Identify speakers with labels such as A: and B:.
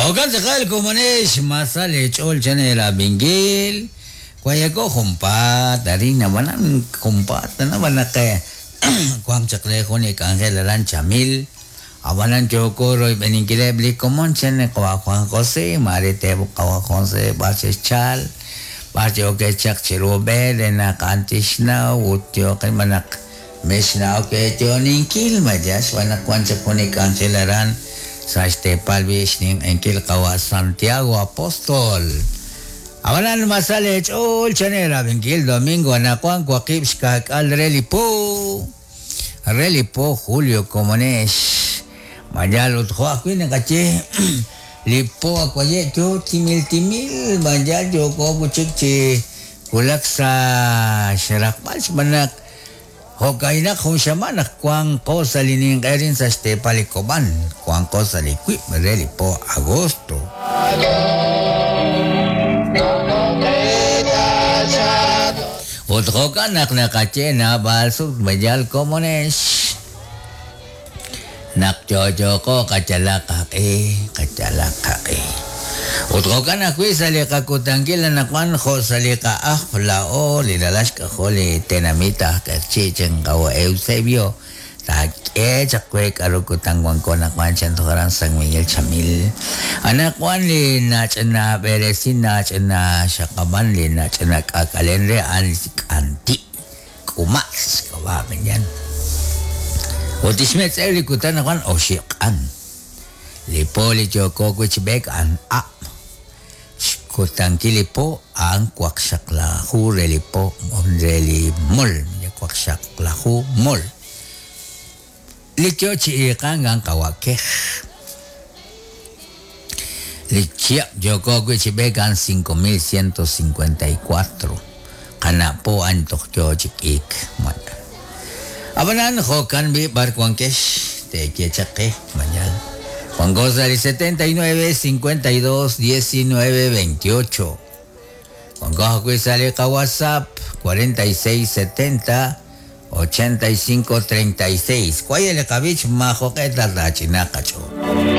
A: Jo'kan tz'aqal komonex, ma sa leech'ool chan eerab'inkil. Wayako junpaat arin ab'anan junpaat tana naq wank chaq re jun li k'anjel aran Chamil. Ab'anan yooko royb'eninkileb' li komon chan li qawa' Juan José, maare teeb'oq qawa' Juan José b'ar xe'xchal, b'ar yookeb' chaq chiru b'e re naq a'an tixnaw ut yooqeb' naq mexna'ok eeyo'oninkil maya xb'aan naq wank chaq jun li k'anjel aran sa' xteepal b'i' xninq'ehinkil qawa' Santiago Apóstol. Ab'anan ma sa leech'ool chan eerab'inkil domingo anaqwan waqib' xka'k'aal re li po. Re li po julio komonex. Mayal ut jo' ajwi' naqaye li po awaye' yo timil timil mayal yooko wi' chik chi wulak sa' xraqb'al xb'aan naq jo'ka'inaq jun xamaan naq wanqo sa' li ninq'e arin sa' xteepal li Kob'an, wanqo sa' li wiib' re li po agosto. Ut jo'kan naq naqaye naab'al sut mayal komonex naq yo'yoqo qayalaq qaq'e, qayalaq qaq'e. Ut jo'kan ajwi' sa' li qakutankil anaqwan jo' sa' li qa'ajb' laa'o li ralal xk'ajol li tenamit aj Q'eqchi' chan qawa' Eusebio taak'e chaq we k'aru kutan wanko anaqwan chan toj aran San Miguel Chamil. Anaqwan li nach'ina b'eresin nach'ina xaqab'an li nach'ina k'aak'alen re a'an li k'anti' k'umatz xk'ab'a' mañan. Ut tixmetz'ew li kutan anaqwan oxib' q'an. Li po li yooko wi' chi b'eek a'an ab'. Xkutankil li po a'an waqxaqlaju re li po re li mol, waqxaqlaju mol. Li yo chi iiqank a'an qawa' kej. Li chihab' yooko wi' chi b'eek a'an 5154. Qana' po a'an toj yo chi k'iik. Ab'anan jo'kan b'i' b'ar wankex teeye chaq qe mañal. Wanko sa' li 79 52 19 28. Wanko ajwi' sa' li qaWhatsApp 46 70 85 36. Waye' li qab'ich maajoq'e ta taach'inaaq qach'ool.